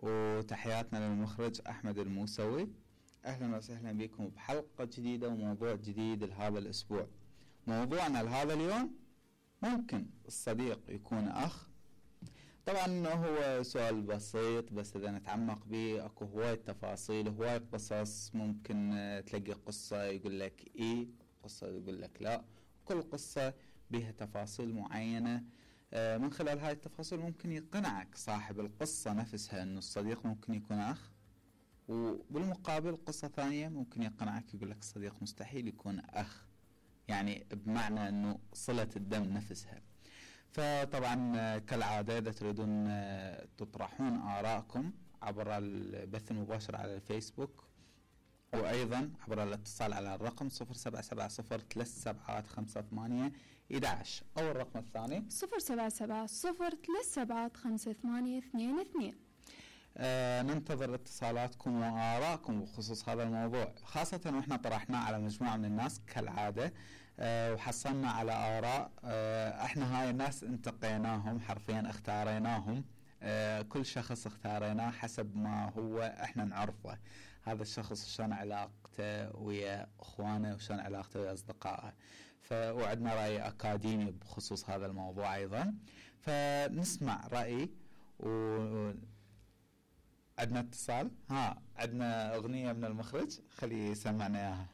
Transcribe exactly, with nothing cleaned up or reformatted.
وتحياتنا للمخرج أحمد الموسوي. أهلا وسهلا بكم بحلقة جديدة وموضوع جديد لهذا الأسبوع. موضوعنا لهذا اليوم ممكن الصديق يكون أخ. طبعا هو سؤال بسيط بس إذا نتعمق به أكو هواية تفاصيل هواية قصص. ممكن تلاقي قصة يقول لك إيه، قصة يقول لك لا. كل قصة بها تفاصيل معينة. من خلال هاي التفاصيل ممكن يقنعك صاحب القصة نفسها أنه الصديق ممكن يكون أخ، وبالمقابل قصة ثانية ممكن يقنعك يقول لك الصديق مستحيل يكون أخ، يعني بمعنى أنه صلة الدم نفسها. فطبعا كالعادة إذا تريدون تطرحون آراءكم عبر البث المباشر على الفيسبوك، وأيضا عبر الاتصال على الرقم صفر سبعة سبعة صفر ثلاث سبعات خمسة ثمانية إحدى عشر أو الرقم الثاني صفر سبعة سبعة صفر ثلاث سبعات خمسة ثمانية اثنين اثنين. آه ننتظر اتصالاتكم وآراءكم بخصوص هذا الموضوع، خاصة وإحنا طرحناه على مجموعة من الناس كالعادة. آه وحصلنا على آراء. آه إحنا هاي الناس انتقيناهم حرفيا، اختاريناهم. آه كل شخص اختاريناه حسب ما هو احنا نعرفه. هذا الشخص شلون علاقته ويا اخوانه وشلون علاقته ويا اصدقائه. فوعدنا رأي اكاديمي بخصوص هذا الموضوع ايضا. فنسمع رأي. و عندنا اتصال. ها عندنا اغنية من المخرج، خليه يسمعنا اياها.